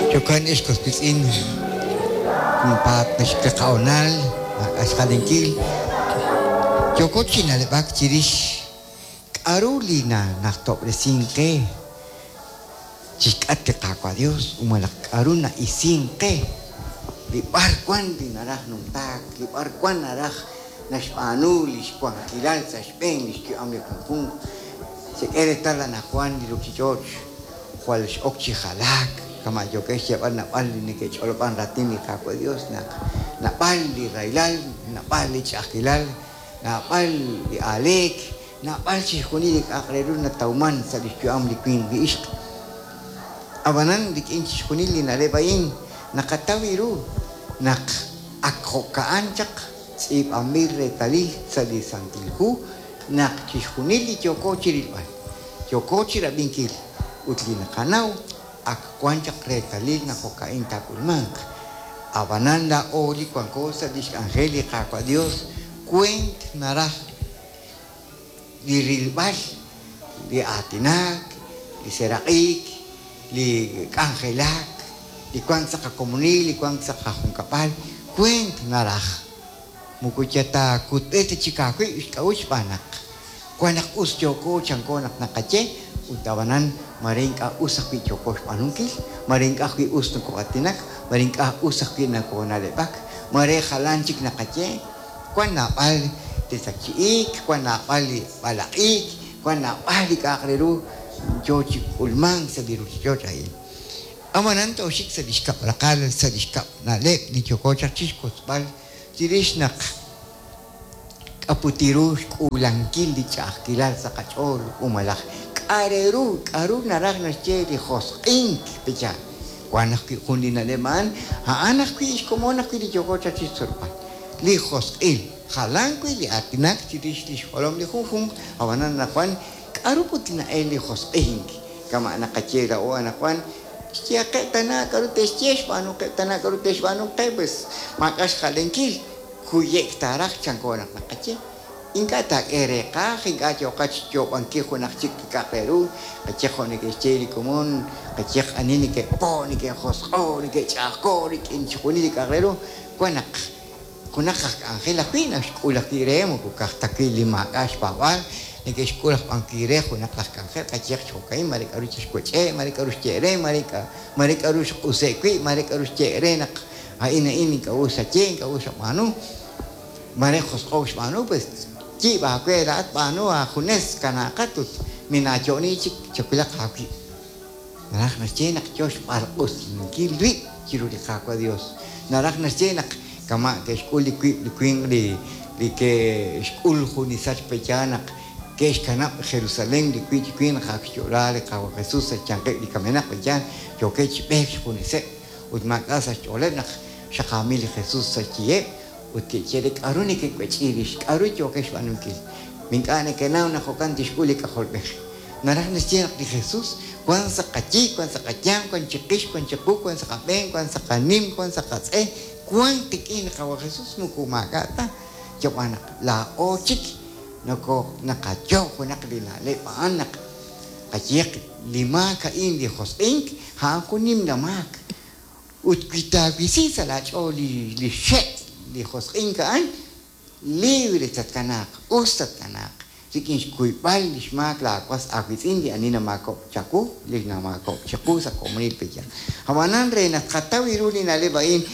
Jo'kan ex was wiitz'in, junpaat naxik li qahonal, maak'a' xjalenkil, yooko chi na'leb'ak chirix k'a'ru li nanajtob'resink qe chixk'atq li Qaawa' Dios ut malaj k'a'ru na'isink qe li b'arwan li naraj numtaak, li b'arwan naraj naxb'aanu lix wankilal sa' xb'een lix yu'am li junjunq. Chek'e reetal anajwan li ruchich'och' jwal x'ok chi jalaak, kama' yookex xyeeb'al naab'al li neke'ch'olob'an raatin li Qaawa' Dios naq naab'al li rahilal, naab'al li ch'a'ajkilal, naab'al li aaleek, naab'al chixjunil li k'a'aq re ru natawman sa' lix yu'am li winq li ixq. A'b'anan rik'in chixjunil li na'leb' a'in naqataw ru naq ak jo'ka'an chaq tz'iib'anb'il reetalil sa' li Santil Hu naq chixjunil li yooko chirilb'al, yooko chirab'inkil ut li naqanaw ak wan chaq reetalil naq jo'ka'in taak'ulmanq. A'b'anan laa'o li wanko sa' lix k'anjel li Qaawa' Dios weent naraj li rilb'al, li aatinak, li seraq'ik, li k'anjelak, li wank sa' qakomonil, li wank sa' qajunkab'al, weent naraj. Moko yal ta kutb'il ta chik aawib' xk'a'uxl xb'aan naq wan naq us yooko chanko naq naqaye ut ab'anan mare ink'a' us ajwi' yooko xb'aanunkil, mare ink'a' ajwi' us nokoo'aatinak, mare ink'a' us ajwi' nokoona'leb'ak, mare jalan chik naqaye. Wan naab'al li takchi'ik, wan naab'al li b'alaq'ik, wan naab'al li k'a'aq re ru yoo chi k'ulmank sa' li ruchich'och' a'in. Ab'anan tooxik sa' li xkab' raqal, sa' li xkab' na'leb' li yooko chaq chixwotzb'al chirix naq k'aputi ru xk'uulankil li ch'a'ajkilal sa' qach'ool u malaj k'a' re ru, k'a'ru naraj naxye li josq'ink pecha. Wan ajwi' jun li na'leb' a'an, a'an ajwi' xkomon ajwi' li yooko chaq chixtzolb'al. Li josq'il, jalan wi' li aatinak chirix lix jolom li junjunq, ab'anan anaqwan k'a'ru put na'el li josq'ink, kama' naqaye laa'o anaqwan, xyehaqeb' tana k'a'ru te'xye, xb'aanuqeb' tana k'a'ru te'xb'aanu qe, pues maak'a' xjalenkil, kuye'k taaraj chanko naq naqaye. Ink'a' taak'e reeqaj, ink'a' yooqat xyoob'ankil junaq chik li k'a'aq re ru, qaye jo' neke'xye li komon, qayehaq ani neke'po', neke'josq'o', neke'ch'a'ajko' rik'in chixjunil li k'a'aq re ru, wan naq junaq aj k'anjel ajwi' naxk'ul ajwi' re, moko ka'aj ta wi' li maak'a' xpaab'aal, neke'xk'ul aj b'an wi' re junaq laj k'anjel, qayehaq chi jo'ka'in, mare k'a'ru chixwech'e', mare k'a'ru xye' re, mare mare k'a'ru xq'use' wi', mare k'a'ru xye' re naq a'in a'in ink'a' us xaye, ink'a' us xab'aanu, mare josq'o'k xb'aanu, pues yiib' aawe laa'at b'aanu aajunes kanaaqat ut minaayo'ni chik chawilaq aawib'. Naraj naxye naq yoo xb'alq'usinkil rib' chiru li Qaawa' Dios. Naraj naxye naq kama' ke'xk'ul li wiib' li winq li li ke'xk'ul jun li sachk pe'yaal naq ke'xkanab' Jerusalen li wiib' chi winq naq ak xyo'la li Qaawa' Jesus sa' xyanqeb' li kamenaq pe'yaal yookeb' chi b'eek xjuneseb' ut maak'a' sa' xch'ooleb' naq xaqaamil li Jesus sa' xyiheb' ut ke'xye re, K'a'ru nekewech'i rix? K'a'ru yookex xb'aanunkil? Ma ink'a' nekenaw naq jo'kan tixk'ul li K'ajolb'ej? Naraj naxye naq li Jesus wank sa' qayi, wank sa' qayanq, wank chiqix, wank chiqu, wank sa' qab'een, wank sa' qanim, wank sa' qatz'e, wank qik'in li Qaawa' Jesus, moko maak'a' ta, yob'an naq laa'o chik noko naqayoob' junaq li na'leb' a'an naq qayehaq li maak a'in li josq'ink, a'an jun nimla maak. Ut wi taawisi sa' laach'ool li xe' li josq'ink a'an, libre tatkanaaq, us tatkanaaq, rik'in xkuyb'al li xmaak laawas aawiitz'in li ani namaakob'k chawu, li namaakob'k chiqu sa' komonil pe'yaal. Ab'anan re naq tqataw ru li na'leb' a'in,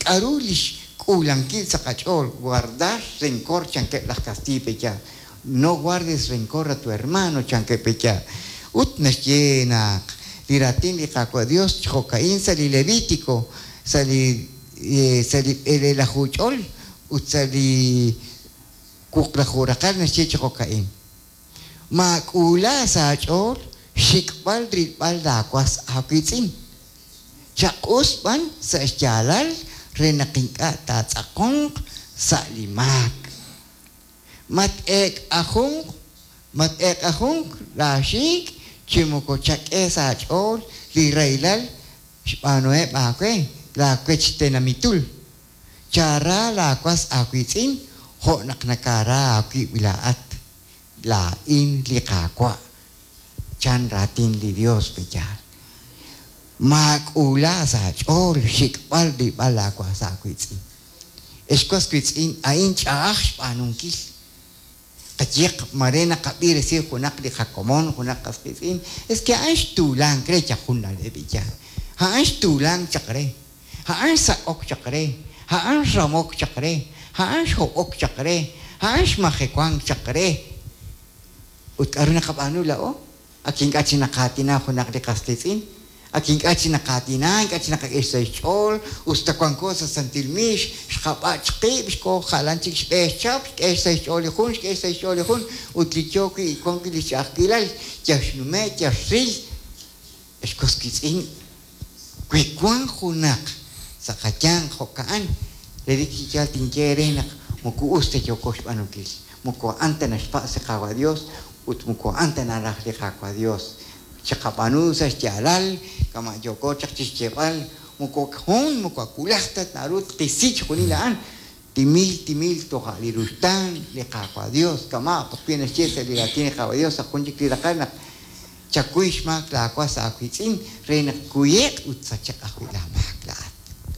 k'aru li xk'uulankil sa' qach'ool, guardar rencor chankeb' laj kastiiy pe'yaal, No guardes rencor a tu hermano, chankeb' pe'yaal. Ut naxye naq li raatin li Qaawa' Dios chi jo'ka'in sa' li Levitico, sa' li sa' li b'elelaju ch'ol ut sa' li wuqlaju raqal naxye chi jo'ka'in, Maak'uula sa' aach'ool xxik'b'al rilb'al laawas aawiitz'in. Chaq'us b'an sa' xyaalal re naq ink'a' taatz'aqonq sa' li maak. Mat-eek'ajunk, mat-eek'ajunk laaxiik' chi moko chak'e sa' aach'ool li rahilal xb'aanuheb' aawe laawech tenamitul. Chaara laawas aawiitz'in jo' naq nakaara aawib' laa'at. Laa'in li Qaawa', chan raatin li Yos pe'yaal. Maak'uula sa' aach'ool xxik'b'al rilb'al laawas aawiitz'in. Ex was wiitz'in, a'in ch'a'aj xb'aanunkil. Qayehaq, mare naqab'i resil junaq li qakomon, junaq qas qiitz'in, es que a'an xtuulank re chaq jun na'leb' iya. A'an xtuulank chaq re. A'an xsak'ok chaq re. A'an xramok chaq re. A'an xhob'ok chaq re. A'an xmajewank chaq re. Ut k'aru naqab'aanu laa'o? Ak ink'a' chik naqaatina junaq li qas qiitz'in. Ak ink'a' chik naqaatina, ink'a' chik naqak'e xsahil xch'ool, us ta wanko sa' santil miix, xqab'ach' qib', xkoo jalan chik xb'e xchap, xk'e xsahil xch'ool li jun, xk'e xsahil xch'ool li jun, ut li yoo wi' wan wi' li ch'a'ajkilal, yal xnume', yal xril. Ex was wiitz'in, wi wan junaq sa' qayanq jo'ka'an, relik chi yaal tinye eere naq moko us ta yooko xb'aanunkil, moko a'an ta naxpatz' li Qaawa' Dios ut moko a'an ta naraj li Qaawa' Dios. Chiqab'aanu sa' xyaalal, kama' yooko chaq chixyeeb'al, moko jun moko wulaj ta naru tqisi chixjunil a'an, timil timil toja' li ruxtaan li Qaawa' Dios, kama' ajwi' naxye sa' li raatin li Qaawa' Dios sa' jun chik li raqal naq chakuy xmaak laawas aawiitz'in re naq kuye'q ut sache'q ajwi' laamaak laa'at.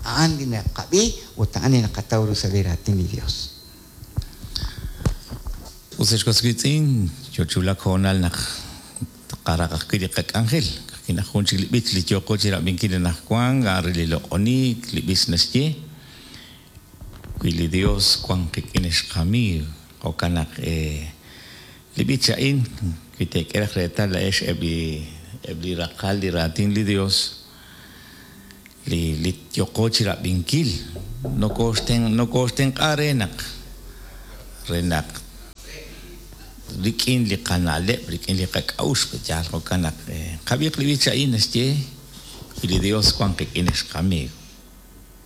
A'an li naqab'i ut a'an li naqataw ru sa' li raatin li Dios. Us ex was wiitz'in, yoo chi wulak hoonal naq tqaraq ajwi' li qak'anjel. Ka'ajwi' naq jun chik li b'ich li yooqo chirab'inkil anaqwan, a'an re li loq'oniik, li b'ich naxye, Wi li Dios wan qik'in ex qamiiw. Jo'kan naq li b'ich a'in, wi teek'e raj reetal laa'ex eb' li eb' li raqal li raatin li Dios, li li yooqo chirab'inkil, nokooxten nokooxtenq'a re naq re naq rik'in li qana'leb', rik'in li qak'a'uxl, yaal jo'kan naq qab'iiq li b'ich a'in naxye, Wi li Dios wan qik'in ex qamiiw.